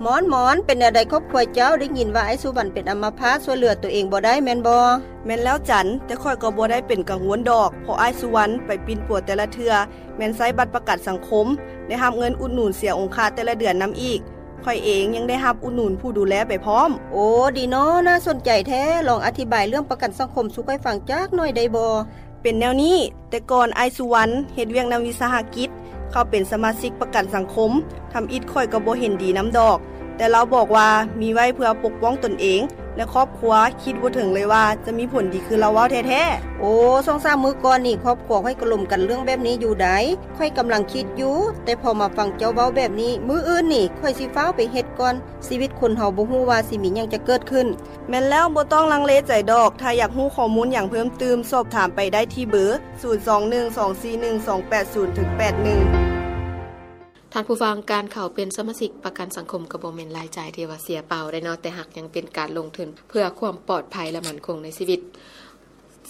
ມອນ ມອນ ເປັນແນວໃດຄອບຄົວເຈົ້າ? ໄດ້ຍິນວ່າອ້າຍສຸວັນເປັນອຳມະພາດ ຊ່ວຍເຫຼືອຕົວເອງບໍ່ໄດ້ແມ່ນບໍ່? ແມ່ນແລ້ວຈັນ, ແຕ່ຂ້ອຍກໍບໍ່ໄດ້ເປັນກັງວົນດອກ ເພາະອ້າຍສຸວັນໄປປິ່ນປົວແຕ່ລະເທື່ອ ແມ່ນໃຊ້ບັດປະກັນສັງຄົມ, ໄດ້ຮັບເງິນອຸດໜູນເສຍອົງຄະແຕ່ລະເດືອນນຳອີກ. ຂ້ອຍເອງຍັງໄດ້ຮັບອຸດໜູນຜູ້ດູແລໄປພ້ອມ. ໂອ້ ດີເນາະ, ໜ້າສົນໃຈແທ້. ລອງອະທິບາຍເລື່ອງປະກັນສັງຄົມສູ່ຂ້ອຍຟັງຈັກໜ້ອຍໄດ້ບໍ່? ເປັນແນວນີ້, ແຕ່ກ່ອນອ້າຍສຸວັນເຮັດວຽກນຳວິສາຫະກິດ, ເຂົ້າເປັນສະມາຊິກປະກັນສັງຄົມ, ທຳອິດຂ້ອຍກໍບໍ່ເຫັນດີນຳດອກ, ແຕ່ລາວບອກວ່າມີໄວ້ເພື່ອປົກປ້ອງຕົນເອງ ແລະ ຄອບຄົວ, ຄິດບໍ່ເຖິງເລີຍວ່າຈະມີຜົນດີຄືລາວເວົ້າແທ້ໆ. ໂອ້ ສອງສາມມື້ກ່ອນນີ້ ຄອບຄົວຂ້ອຍກໍລົມກັນເລື່ອງແບບນີ້ຢູ່ໃດ໋. ຂ້ອຍກຳລັງຄິດຢູ່, ແຕ່ພໍມາຟັງເຈົ້າເວົ້າແບບນີ້, ມື້ອື່ນນີ້ຂ້ອຍຊິຟ້າວໄປເຮັດກ່ອນ. ຊີວິດຄົນເຮົາບໍ່ຮູ້ວ່າຊິມີຫຍັງຈະເກີດຂຶ້ນ. ແມ່ນແລ້ວ, ບໍ່ຕ້ອງລັງເລໃຈດອກ. ຖ້າຢາກຮູ້ຂໍ້ມູນຫຍັງເພີ່ມຕື່ມ, ສອບຖາມໄປໄດ້ທີ່ເບີ ສູນສອງໜຶ່ງສອງສີ່ໜຶ່ງສອງແປດສູນເຖິງແປດໜຶ່ງ. ທ່ານຜູ້ຟັງ, ການເຂົ້າເປັນສະມາຊິກປະກັນສັງຄົມກໍບໍ່ແມ່ນລາຍຈ່າຍທີ່ວ່າເສຍເປົ່າໄດ໋ເນາະ, ແຕ່ຫາກຍັງເປັນການລົງທຶນເພື່ອຄວາມປອດໄພ ແລະ ໝັ້ນຄົງໃນຊີວິດ.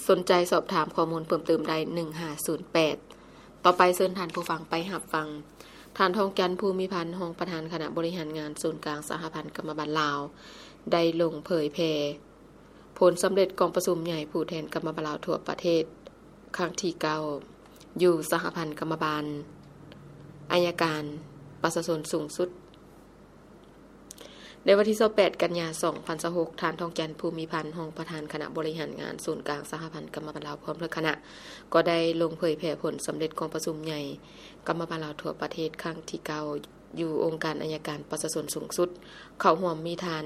ສົນໃຈສອບຖາມຂໍ້ມູນເພີ່ມເຕີມໄດ້ ໜຶ່ງຫ້າສູນແປດ. ຕໍ່ໄປເຊີນທ່ານຜູ້ຟັງໄປຮັບຟັງ ທ່ານ ທອງຈັນ ພູມີພັນ ຮອງປະທານຄະນະບໍລິຫານງານສູນກາງສະຫະພັນກຳມະບານລາວ ໄດ້ລົງເຜີຍແຜ່ ຜົນສຳເລັດກອງປະຊຸມໃຫຍ່ຜູ້ແທນກຳມະບານລາວທົ່ວປະເທດ ຄັ້ງທີເກົ້າ ຢູ່ສະຫະພັນກຳມະບານໄອຍະການປະຊາຊົນສູງສຸດ. ໃນວັນທີຊາວແປດ ກັນຍາ ສອງພັນຊາວຫົກ, ທ່ານ ທອງຈັນ ພູມີພັນ ຮອງປະທານຄະນະບໍລິຫານງານສູນກາງສະຫະພັນກຳມະບານລາວ ພ້ອມດ້ວຍຄະນະ ກໍໄດ້ລົງເຜີຍແຜ່ຜົນສຳເລັດກອງປະຊຸມໃຫຍ່ກຳມະບານລາວທົ່ວປະເທດ ຄັ້ງທີເກົ້າ ຢູ່ອົງການໄອຍະການປະຊາຊົນສູງສຸດ. ເຂົ້າຮ່ວມມີທ່ານ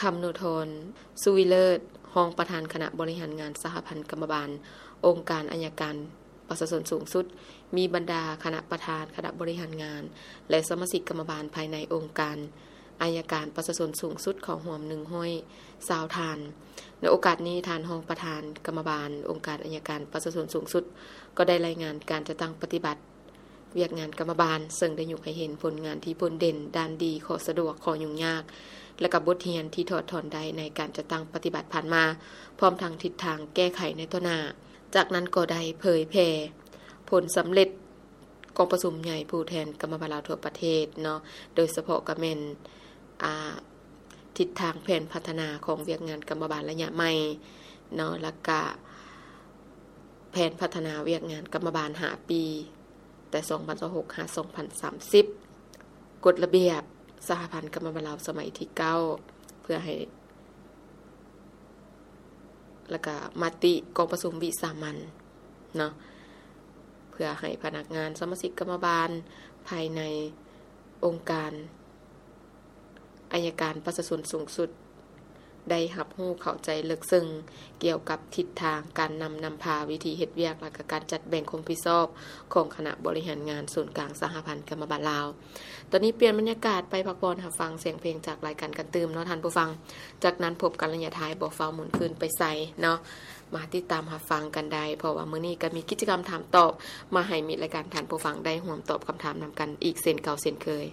ຄຳນຸທອນ ສຸວິເລີດ ຮອງປະທານຄະນະບໍລິຫານງານສະຫະພັນກຳມະບານອົງການໄອຍະການປະຊາຊົນສູງສຸດ, ມີບັນດາຄະນະປະທານຄະນະບໍລິຫານງານ ແລະ ສະມາຊິກກຳມະບານພາຍໃນອົງການໄອຍະການປະຊາຊົນສູງສຸດເຂົ້າຮ່ວມ ໜຶ່ງຮ້ອຍຊາວທ່ານ. ໃນໂອກາດນີ້, ທ່ານຮອງປະທານກຳມະບານອົງການໄອຍະການປະຊາຊົນສູງສຸດ ກໍໄດ້ລາຍງານການຈັດຕັ້ງປະຕິບັດ ວຽກງານກຳມະບານ, ເຊິ່ງໄດ້ຍົກໃຫ້ເຫັນຜົນງານທີ່ໂດດເດັ່ນ, ດ້ານດີ, ຂໍ້ສະດວກ, ຂໍ້ຫຍຸ້ງຍາກ ແລະ ກະບົດຮຽນທີ່ຖອດຖອນໄດ້ໃນການຈັດຕັ້ງປະຕິບັດຜ່ານມາ, ພ້ອມທັງທິດທາງແກ້ໄຂໃນຕໍ່ໜ້າ. ຈາກນັ້ນກໍໄດ້ເຜີຍແຜ່ຜົນສຳເລັດກອງປະຊຸມໃຫຍ່ຜູ້ແທນກຳມະບານລາວທົ່ວປະເທດເນາະ, ໂດຍສະເພາະກະແມ່ນ ອາ ທິດທາງແຜນພັດທະນາຂອງວຽກງານກຳມະບານໄລຍະໃໝ່ເນາະ, ແລ້ວກະແຜນພັດທະນາວຽກງານກຳມະບານຫ້າປີ ແຕ່ສອງພັນຊາວຫົກຫາສອງພັນສາມສິບ, ກົດລະບຽບສະຫະພັນກຳມະບານລາວສະໄໝທີເກົ້າ ເພື່ອໃຫ້ ແລ້ວກະມະຕິກອງປະຊຸມວິສາມັນເນາະ, ເພື່ອໃຫ້ພະນັກງານສະມາຊິກກຳມະບານພາຍໃນອົງການ ໄອຍະການປະຊາຊົນສູງສຸດ ໄດ້ຮັບຮູ້ເຂົ້າໃຈເລິກເຊິ່ງກ່ຽວກັບທິດທາງການນຳນຳພາ, ວິທີເຮັດວຽກ ແລະ ກະການຈັດແບ່ງຄວາມຮັບຜິດຊອບຂອງຄະນະບໍລິຫານງານສູນກາງສະຫະພັນກຳມະບານລາວ. ຕອນນີ້ປ່ຽນບັນຍາກາດໄປພັກຜ່ອນຮັບຟັງສຽງເພງຈາກລາຍການກັນຕື່ມເນາະທ່ານຜູ້ຟັງ. ຈາກນັ້ນພົບກັນໄລຍະທ້າຍ, ບໍ່ຟ້າວໝູນຄືນໄປໃສເນາະ, ມາຕິດຕາມຮັບຟັງກັນໄດ້, ເພາະວ່າມື້ນີ້ກະມີກິດຈະກຳຖາມຕອບມາໃຫ້ມິດລາຍການທ່ານຜູ້ຟັງໄດ້ຮ່ວມຕອບຄຳຖາມນຳກັນອີກເຊັ່ນເກົ່າເຊັ່ນເຄີຍ.